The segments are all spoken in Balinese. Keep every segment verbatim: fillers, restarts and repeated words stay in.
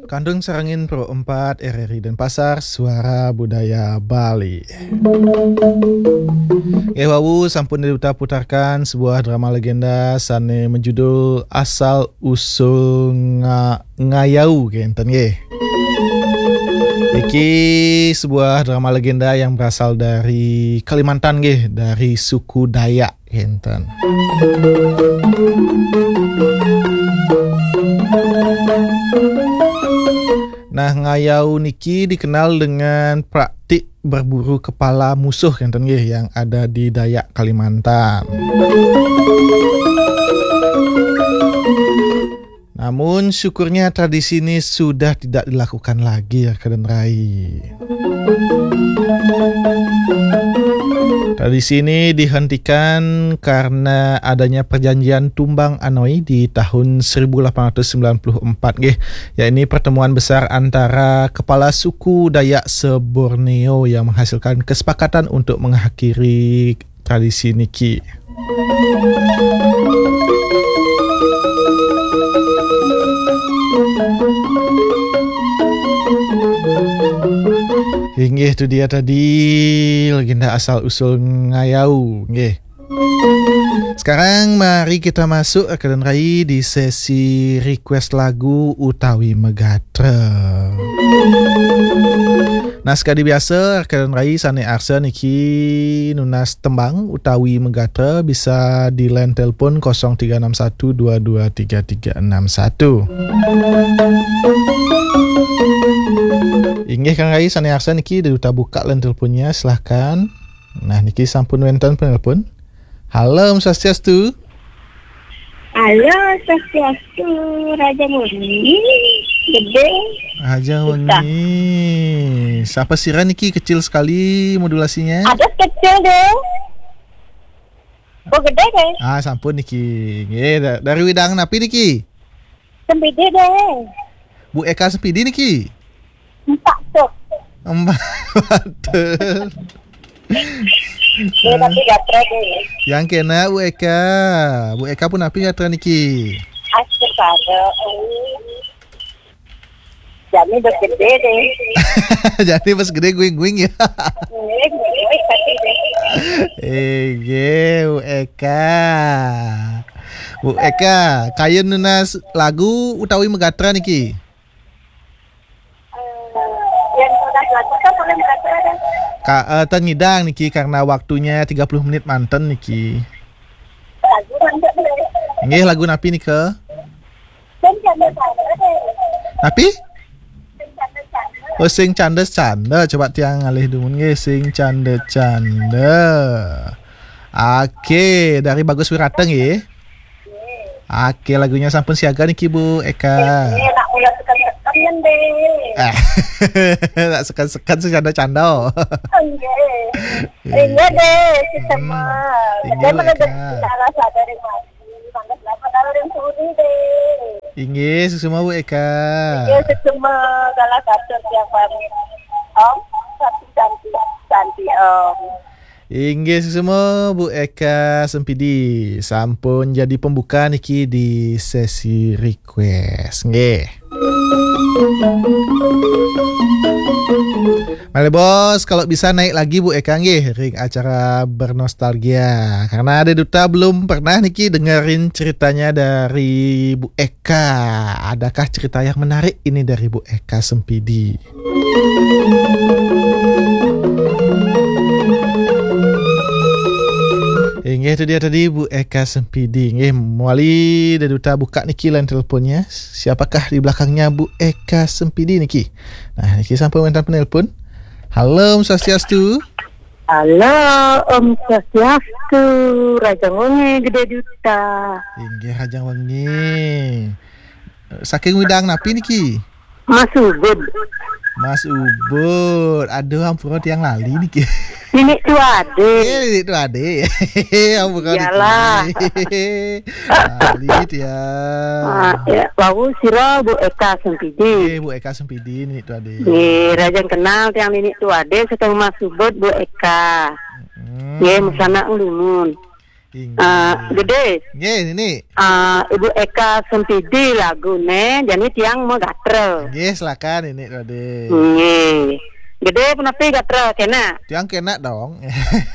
Kandung Sarangin Pro empat R R I Denpasar, Suara Budaya Bali. Nggih wau sampun diputarkan sebuah drama legenda sane menjudul Asal Usul Nga-, Ngayau kenten nggih. Iki sebuah drama legenda yang berasal dari Kalimantan nggih, dari suku Dayak kenten. Nah, ngayau niki dikenal dengan praktik berburu kepala musuh kenten nggih yang ada di Dayak Kalimantan. Namun syukurnya tradisi ini sudah tidak dilakukan lagi ya, Kaden Rai. Tradisi ini dihentikan karena adanya perjanjian Tumbang Anoi di tahun seribu lapan ratus sembilan puluh empat nggih, yakni pertemuan besar antara kepala suku Dayak se-Borneo yang menghasilkan kesepakatan untuk mengakhiri tradisi niki. Inggih, tu dia tadi legenda asal usul ngayau, nggih. Sekarang mari kita masuk, Kaden Rai, di sesi request lagu utawi megatra. Nah, sekadi biasa, Kaden Rai sane arsa niki nunas tembang utawi megatra bisa di line telepon kosong tiga enam satu dua dua tiga tiga enam satu. Inggih, Kang Rai sane arsa niki, duta buka line teleponnya, silahkan. Nah, niki sampun wenten penelpon. Halo, Om Swastiastu. Halo, Swastiastu, Raja Murni, Gede. Raja Murni. Siapa sira niki, kecil sekali modulasinya? Ada kecil deh. Oh, gede deh. Ah, sampun niki. Nggih, da-, dari widang napi niki? Sempidi deh. Bu Eka Sempidi niki? Empat tuh. Empat tuh. Dia tapi gatra deh. Yang kena Bu Eka. Bu Eka pun napi gatra niki? Astaga. Jani bes gede deh. Jani bes gede guing-guing ya. Guing-guing tapi deh. Ege, Bu Eka. Bu Eka, kayun nunas lagu utawi megatra niki? Yang nunas lagu kan boleh megatra deh. Ka, eh, ten ngidang niki karena waktunya tiga puluh menit manten niki. Lagu manten deh. Nggih, lagu napi nika? Sing canda-canda deh. Napi? Sing canda-canda. Oh, sing canda-canda. Coba tiang ngalih dumun nggih, sing canda-canda. Oke, dari Bagus Wirata nggih. Oke, lagunya sampun siaga niki, Bu Eka. Eh, nak mula sekan-sekan deh. Ah, nak sekan-sekan, sing canda-canda. Nggih. Iya deh, sesama. Inggih, Bu Eka. Salah sadar yang mati. Mangga selamat hari yang sudi deh. Inggih, suksma Bu Eka. Inggih, suksma, salah satu tiang pamit. Om, Santi, Santi, Santi, Om. Inggih, suksma Bu Eka Sempidi. Sampun jadi pembuka niki di sesi request. Nggih. Malih bos, kalau bisa naik lagi Bu Eka nggih ring acara bernostalgia. Karena ada duta belum pernah niki dengerin ceritanya dari Bu Eka. Adakah cerita yang menarik ini dari Bu Eka Sempidi? Inggih, itu dia tadi Bu Eka Sempidi. Nggih, mawali ada duta buka niki line teleponnya. Siapakah di belakangnya Bu Eka Sempidi niki? Nah, niki sampun wenten penelpon. Halo, Om Swastiastu. Halo, Om Swastiastu. Rajang wengi, Gede Duta. Inggih, rajang wengi. Saking widang napi niki? Mas Ubud. Mas Ubud. Aduh, ampura tiang lali niki. Nini Tuade. Eh, Nini Tuade. Ampura niki. Iyalah. Lali tiang. Ah, ya, wau sira Bu Eka Sempidi. Eh, Bu Eka Sempidi, Nini Tuade. Nggih, rajang kenal tiang Nini Tuade, seteng Mas Ubud, Bu Eka. Hmm. Nggih, mesana nglumun. Inggih. Ah, Gede. Nggih, Nini. Ah, Ibu Eka Sempidi lagune, jani tiang magatra. Nggih, silakan Nini Rade. Nggih. Gede punapi gatra kena? Tiang kena dong.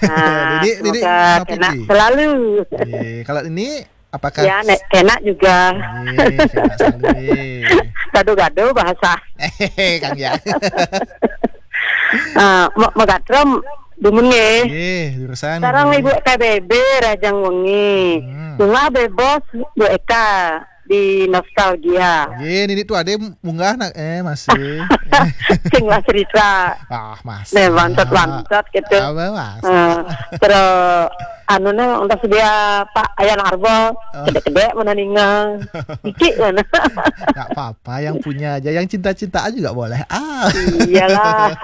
Ah, Nini, Nini semoga punapi kena Nini? Selalu. Nggih, kalau Nini apakah Ya, nek kena juga. Nggih, kena selalu nggih. Gado-gado bahasa. Kang ya. Ah, ma-, magatra dumun nggih. Nggih, jurusan Sareng nggih. Ibu K B B Rajang Wengi. Hmm. Bunga bebas Bu Eka di nostalgia. Nggih, Nini tu ada munggah nak eh masih. Sing lah cerita. Ah, masih. Nih, bangsat-bangsat gitu. Apa mas? Ah, terus anu nih untuk sedia Pak Ayan Arbo, Oh. Kedek-kedek mana ningal. Iki mana? Nggak apa-apa, yang punya aja, yang cinta-cintaan juga boleh. Ah. Iyalah.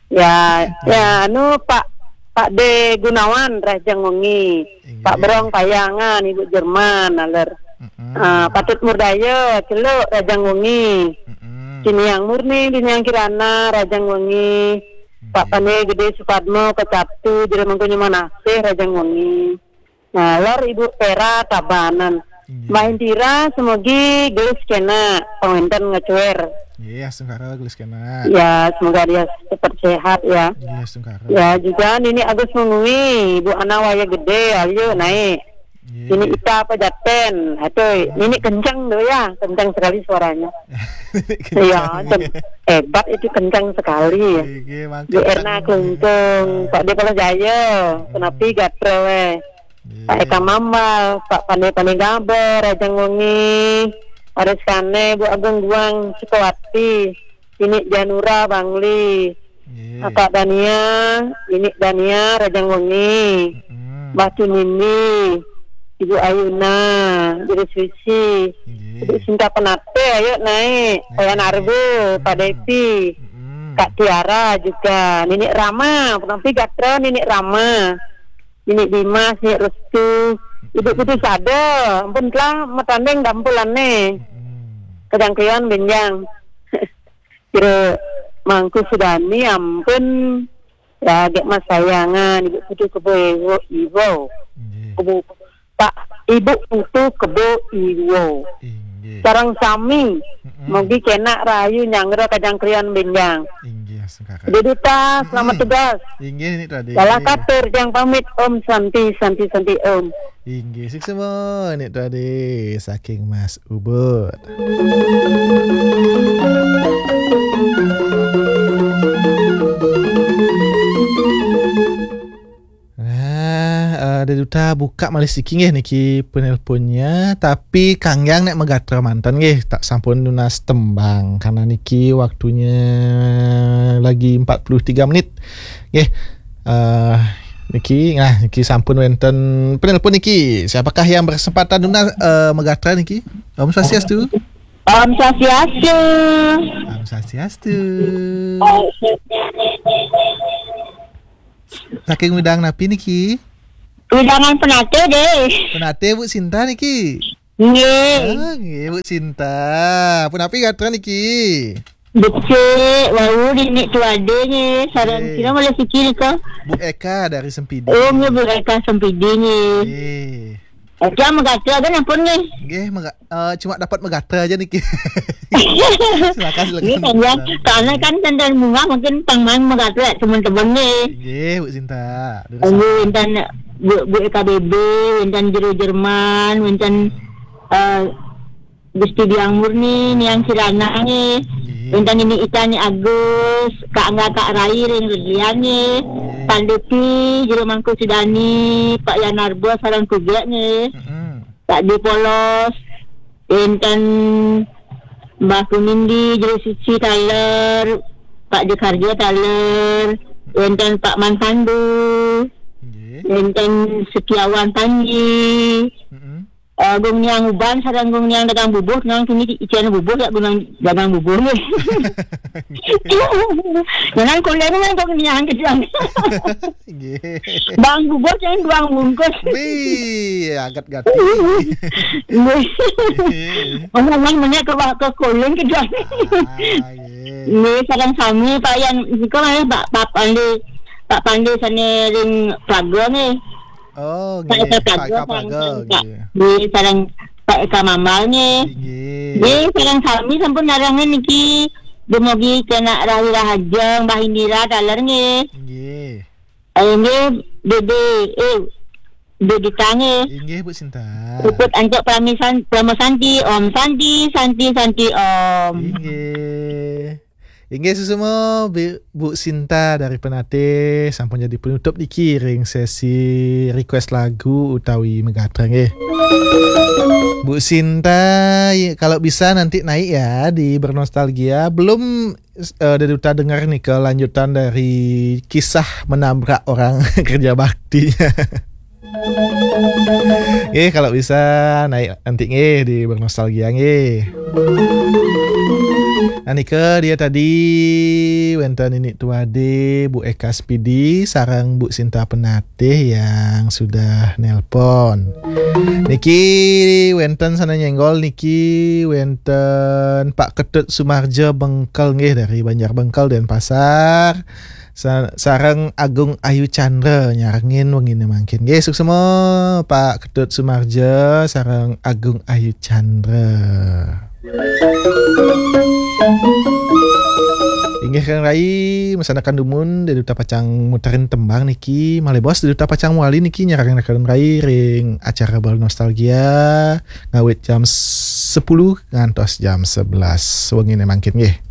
Ya, ya, anu, Pak, Pak D Gunawan, Rajang Wengi. Inggih. Pak Berong Payangan, Ibu Jerman, aler. Mm-mm. Ah, Patut Murdaya, Celuk, Rajang Wengi. Mm-mm. Siniang Murni, Diniang Kirana, Rajang Wengi. Pak Inggih. Pane Gede Supadmo, Kecatu, Jero Mangkunyuman Asih, Rajang Wengi. Nah, lor Ibu Pera Tabanan. Inggih. Mbah Indira, semogi gelis kena pengwenten ngecuer. Iya, astungkara gelis kena. Ya, semoga dia cepat sehat ya. Iya, astungkara. Ya, juga Nini Agus Mengui, Ibu Ana Waya Gede, ayo naik. Iya. Nini Ita apa Jaten? Aduh, Nini kencang tuh ya, kencang sekali suaranya. Kencang. Iya, tem-, hebat itu, kencang sekali. Iya, emang Bu kencang. Erna Klungkung, Pak Depala Jaya, Hmm. Kenapi Gatra weh. Iya. Pak Eka Mambal, Pak Pane Pane Gaber, Rajang Wengi, Waris Kane, Bu Agung Guang, Sukawati, Nini Janura, Bangli, Iya. Kakak Dania, Nini Dania, Rajang Wengi, Mm-mm. Mbah Tunindi, Ibu Ayuna, Guru Suci, Iya. Ibu Sinta Penate, ayo naik, Iya. Wayan Arbe, Pak Mm-mm. Depi, Mm-mm. Kak Tiara juga, Nini Rama, penampi gatra Nini Rama. Nini Dimas, Nini Restu, Ibu Putu Sada, ampun telah matanding dampulane. Hmm. Kejangkrian benjang. Kira Mangku Sudani, ampun. Ya, gek Mas Sayangan, Ibu Putu Kebo Iwo, Iwo. Nggih. Kebo, Pak, Ibu Putu Kebo Iwo. Inggih. Sareng sami, Mm-mm. mugi kena rahayu nyanggra kejangkrian benjang. Inggih, astungkara. Jadi Duta, selamat Mm-mm. tugas. Inggih, Nik Rade. Salah katur, jang pamit. Om Santi, Santi, Santi, Om. Inggih, suksma, Nik Rade, saking Mas Ubud. Nah, eh, ada Duta buka malih siki nggih niki penelponnya, tapi kanggiang nek megatra manten nggih, tak sampun nunas tembang karena niki waktunya lagi empat puluh tiga menit. Nggih. Eh, niki, nah, niki sampun wenten penelpon niki. Siapakah yang berkesempatan nunas, eh, megatra niki? Om Swastiastu. Om Swastiastu. Om Swastiastu. Saking wedang napi niki? Wedangan Penate deh. Penate Bu Sinta niki. Nggih. Ah, nggih Bu Sinta. Punapi gatra niki? Becik, wau Nik Tuade nggih. Sareng Nggih. Sira malih siki nika? Bu Eka dari Sempidi. Oh, nggih, Bu Eka Sempidi nggih. Nggih. Oke, megatra kan ampun nggih. Nggih, mega-, eh, cuma dapat megatra aja niki. Silakan, silakan. Nggih, kan ya. Karena kan tentang bunga mungkin pangmang megatra teman-teman nggih. Nggih, Bu Sinta. Durus Nggih, apa? Wenten Bu, Bu E K B B, wenten Jero Jerman, wenten, Hmm. eh, Gusti Diang Murni, Niang Kirana nggih. Nggih. Wenten Nini Ita, Ni Agus, Kak Angga, Kak Rai, ring Redian nggih. Nggih. Pak Depi, Jero Mangku Sudani, Pak Yanarbo, sareng Kugek nggih. Mm-mm. Pak Di Polos, wenten Mbah Kunindi, Jero Suci taler, Pak Jekarjo taler, wenten Pak Mantandu, Nggih. wenten Setiawan Panji, Mm-mm. eh, Gung Niang Uban, sareng Gung Niang dagang bubuh, nang kini icen bubuh ya, Gung Niang dagang bubuh nggih. Jangan kuliah nang Gung Niang kejuang. Nggih. Bang bubur yang duang bungkus. Wih, agat gati. Nggih. Nggih. Ngomong-ngomong ke, ke kuling kejuang. Ah, nggih. Nggih, sareng sami Pak Yan, nika malih Pak, Pak Pandi, Pak Pandi sane ring Praga nggih. Oh, nggih. Pak Eka Praga, Pak Eka Praga, nggih. Nggih, sareng Pak Eka Mambal nggih. Nggih. Nggih, sareng sami sampun narengan niki, dumugi kena rahi rahajeng, Mbah Indira taler nggih. Nggih. Eh, nggih, Dede, eh, Dede Tange. Inggih, Bu Sinta. Puput Ancok Pramisan, Pramo Santi, Om Santi, Santi, Santi, Om. Inggih. Inggih, suksma, Bu, Bu Sinta dari Penatih, sampun jadi penutup niki ring sesi request lagu utawi megatra nggih. Bu Sinta, i-, kalau bisa nanti naik ya di Bernostalgia. Belum, eh, Deduta dengar nih kelanjutan dari kisah menabrak orang kerja baktinya. Nggih, kalau bisa naik nanti nggih di Bernostalgia nggih. Nah, nika dia tadi wenten Nini Tuade, Bu Eka Spidi, sareng Bu Sinta Penatih yang sudah nelpon. Niki wenten sana nyenggol niki wenten Pak Ketut Sumarjo Bengkel nggih dari Banjar Bengkel, Denpasar. Sa-, sareng Agung Ayu Chandra nyarengin wengine mangkin. Nggih, suksma Pak Ketut Sumarjo sareng Agung Ayu Chandra. Inggih Kang Rai, mesanakan dumun, Deduta pacang muterin tembang niki. Malih bos, Deduta pacang muali niki nyarengin Kang Rai ring acara Bernostalgia ngawit jam sepuluh ngantos jam sebelas wengine mangkin nggih.